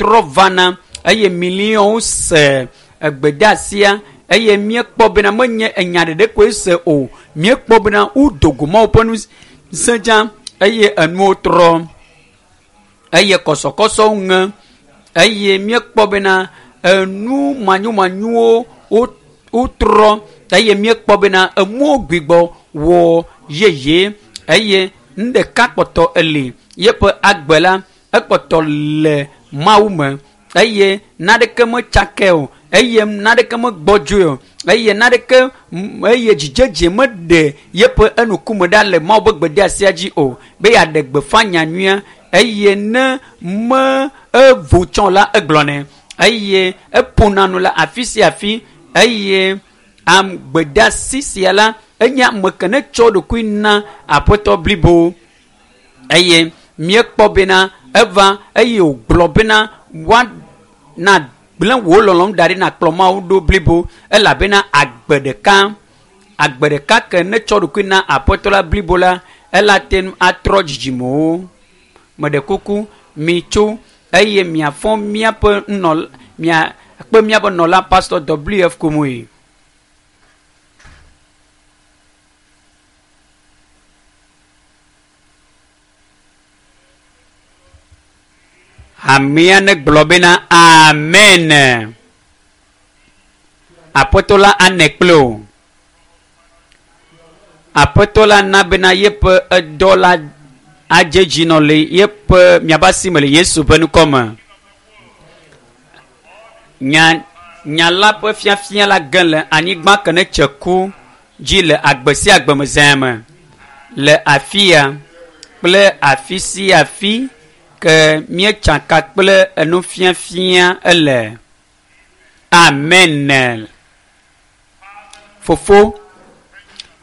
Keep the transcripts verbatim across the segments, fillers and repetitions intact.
trɔ vana eye miliɔnwo se egbedeasia eye míekpɔ bena menye enya ɖeɖe koe se o míekpɔ bena wodo go Mawu ƒe ŋusẽ dzã eye enuwo trɔ eye kɔsɔkɔsɔwo ŋe eye míekpɔ bena enu manyomanyuwo wotrɔ eye míekpɔ bena emuwo gbigbɔ wɔ yeye eye nu ɖeka kpɔtɔ eli yeƒe agbe la ekpɔtɔ le Mawu me eye naneke metsakae o eye naneke megbɔdzɔe o eye naneke eye dzidzedze meɖe yeƒe enukume ɖa le Mawu ƒe gbedeasia dzi o be yeaɖe gbeƒã nyanyuia eye ne me evo tsɔ la egblɔnɛ eye eƒona nu le afi sia afi eye am gbedeasi sia la enye ame ke ne tsɔ ɖokui na aƒetɔ blibo eye míekpɔ bena eva eye wògblɔ bena woa na gblẽ wò lɔlɔ̃nu da ɖi nakplɔ Mawu ɖo blibo elabena agbe ɖeka agbe ɖeka ke ne tsɔ ɖokui na aƒetɔ la blibo la ela te ŋu atrɔ dzidzimewo. Meɖe kuku mitso eye miafɔ míaƒe nɔ miakpe míaƒe nɔla Pastor W F Kumuyi. Hamea ne gblɔ bena amen. Aƒetɔ la ane kple o. Aƒetɔ la na bena yeƒe edɔ la adze dzi nɔ le yeƒe miaƒe asi me le Yesu ƒe ŋkɔ me. Nya nya la ƒe fiafia la ge le anyigba ke ne tse ku dzi le agbe sia agbe me zã me le afia kple afi sia afi ke míetsaka kple enufiafia ele. Amen. Fofo,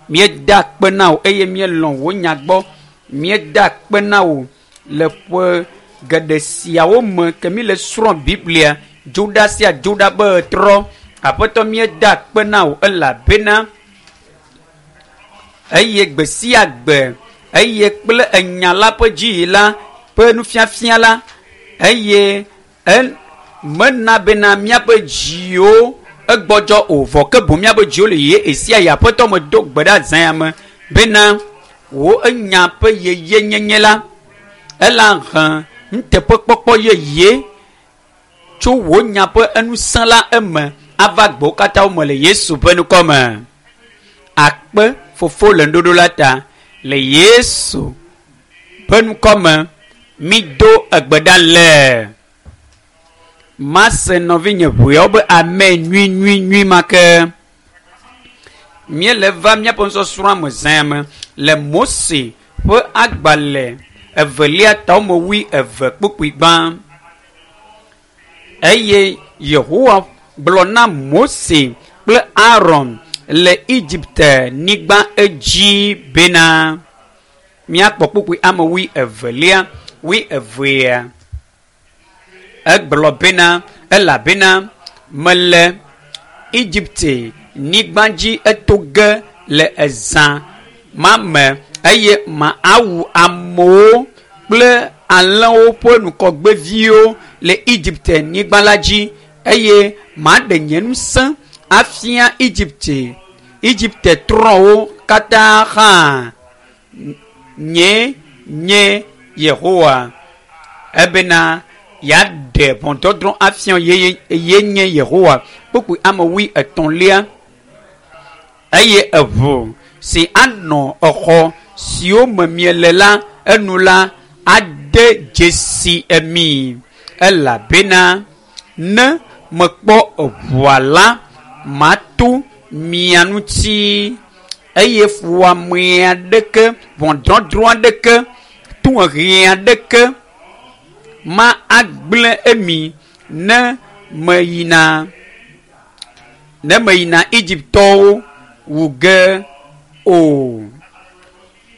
míeda akpe na wò eye míelɔ̃ wò nya gbɔ. Míeda akpe na wò le ƒe geɖe siawo me ke míle srɔ̃ Biblia dzoɖa sia dzoɖa be trɔ. Aƒetɔ míeda akpe na wò elabena eye gbe sia gbe eye kple enya la ƒe dziyi la ƒe nufiafia la eye en mena bena míaƒe dziwo egbɔdzɔ o vɔ ke boŋ míaƒe dziwo le ye esia yi aƒetɔ me do gbe ɖa zã ya me bena wò enya ƒe yeyenyenye la ela he nuteƒekpɔkpɔ yeye tso wò nya ƒe enusẽ la eme ava gbewo katã me le Yesu ƒe ŋkɔ me. Akpe fofo le ŋuɖoɖo la ta le Yesu ƒe ŋkɔ me mido egbe ɖa le. Mase nɔvinye ʋeawo be amen nyui nyui nyui ma ke. Míele va míaƒe nusɔsrɔ̃a me zã me le Mose ƒe agbalẽ evelia tame wui eve kpukpui gbã. Eye Yehowa gblɔ na Mose kple Aaron le Egipte nyigba edzi bena míakpɔ kpukpui ame wui evelia wui evea. Egblɔ bena elabena mele Egipte nyigba dzi eto ge le ezã ma me eye ma awu amewo kple alẽwo ƒe ŋgɔgbeviwo le Egipte nyigba la dzi eye maɖe nye ŋusẽ afia Egipte Egipte trɔ̃wo katã hã. Nye nye Yehowa ebena yeaɖe ʋɔnudɔdrɔ̃ afia ye ye nye Yehowa. Kpukpui ame wui etɔ̃lia eye eʋu si anɔ exɔ siwo me miele la enu la ade dzesi emi elabena ne mekpɔ eʋua la mato mia ŋuti eye fuwɔame aɖeke ʋɔnudɔdrɔ̃ aɖeke tohehe aɖeke ma agblẽ emi ne meyina ne meyina Egiptɔwo wu ge o.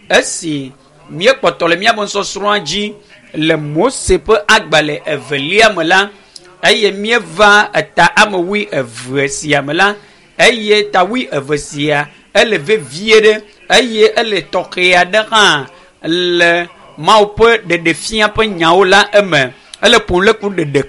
Esi míekpɔtɔ le míaƒe nusɔsrɔ̃a dzi le Mose ƒe agbalẽ evelia me la eye míeva eta ame wui eve sia me la eye ta wui eve sia ele vevie ɖe eye ele tɔxɛ aɖe hã le Mawu ƒe ɖeɖefia ƒe nyawo la eme. Ele ƒom ɖe ku ɖeɖe